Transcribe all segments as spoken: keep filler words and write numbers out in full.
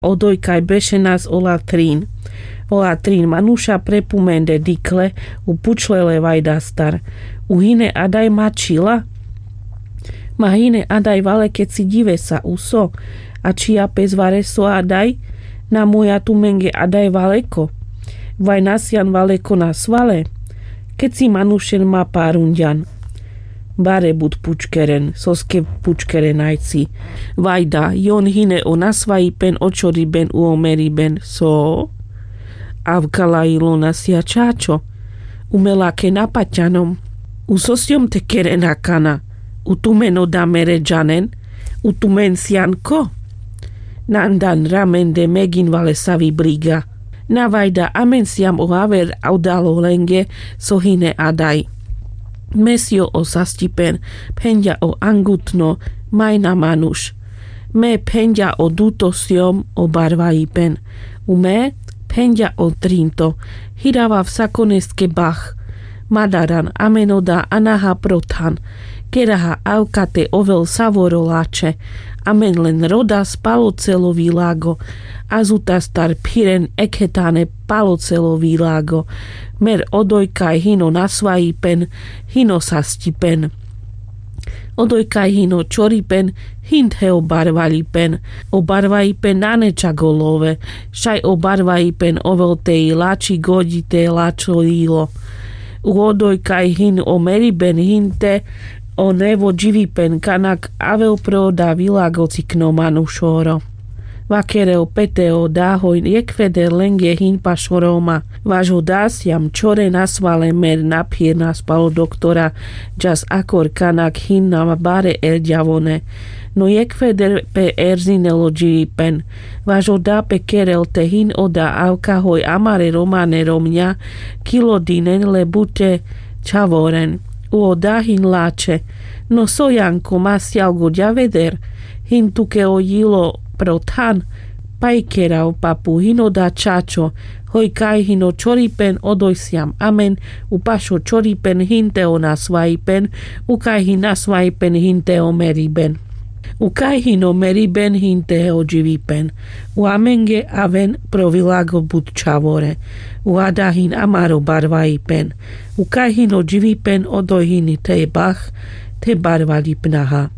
Odojkaj bešenas o latrin. O latrin manuša prepumende dikhle, u pučle le vajdastar: U hine adaj mačhila? Ma hine adaj vale keci dživesa uso, a čhija pes vareso adaj? Na moja tumenge adaj valeko? Vaj na sian valeko nasvale? Keci manušen ma parundžan. Bare but pučkeren, soske pučkeren ajci. Vajda, jon hine o nasvajipen, o čoriben, u o meriben. So? Avka lajilo: Na sia čačo. U me lake na pačanom. U so siom te keren akana? U tumen oda mere džanen? U tumen sian ko? Nandan ramende megin vale savi briga. Na vajda, amen siam o aver odalo lenge so hine adaj. Me sio o sastipen, phenďa o angutno, majna manuš. Me phenďa o duto siom o barvajipen. U me phenďa o trinto. Hirava vsakoneske bah. Madaran amen oda anaha pro than. Keraha avka te ovel savoro lačhe. Amen len rodas palo celo vilago. Azutastar phiren ekhetane palo celo vilago. Mer odojkaj hin o nasvajipen, hin o sastipen. Odojkaj hin o čoripen, hin the o barvaljipen. O barvaljipen nane čak o love, šaj o barvaljipen ovel te i lači goďi te lačho jilo. U odojkaj hin o meriben, hin the o nevo dživipen, kanak avel pro oda vilago cikno manušoro. Vakerel pe te oda hoj jekveder lenge hin pašo Roma. Vaš oda siam čhore nasvale mer naphirnas palo doktora, džas akor kanak hin na bare erďavone. No jekveder pe erzinel o dživipen. Vaš oda pe kerel te hin oda avka hoj amare Romane romňa kilo dinen le buťe čhavoren. U oda hin lačhe: No so, Janko, ma sial goďaveder? Hin tuke o jilo pro than? Paj kerav, papu, hin oda čačo, hoj kaj hin o čoripen, odoj siam amen. U pašo čoripen hin the o nasvajipen, u kaj hin nasvajipen hin the o meriben. U kaj hin o meriben hin the o dživipen. U amenge aven pro vilago but čhavore. U ada hin amaro barvajipen. U kaj hin o dživipen, odoj hin the bah, the barvaljipnaha.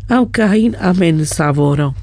Avka hin amen savoro.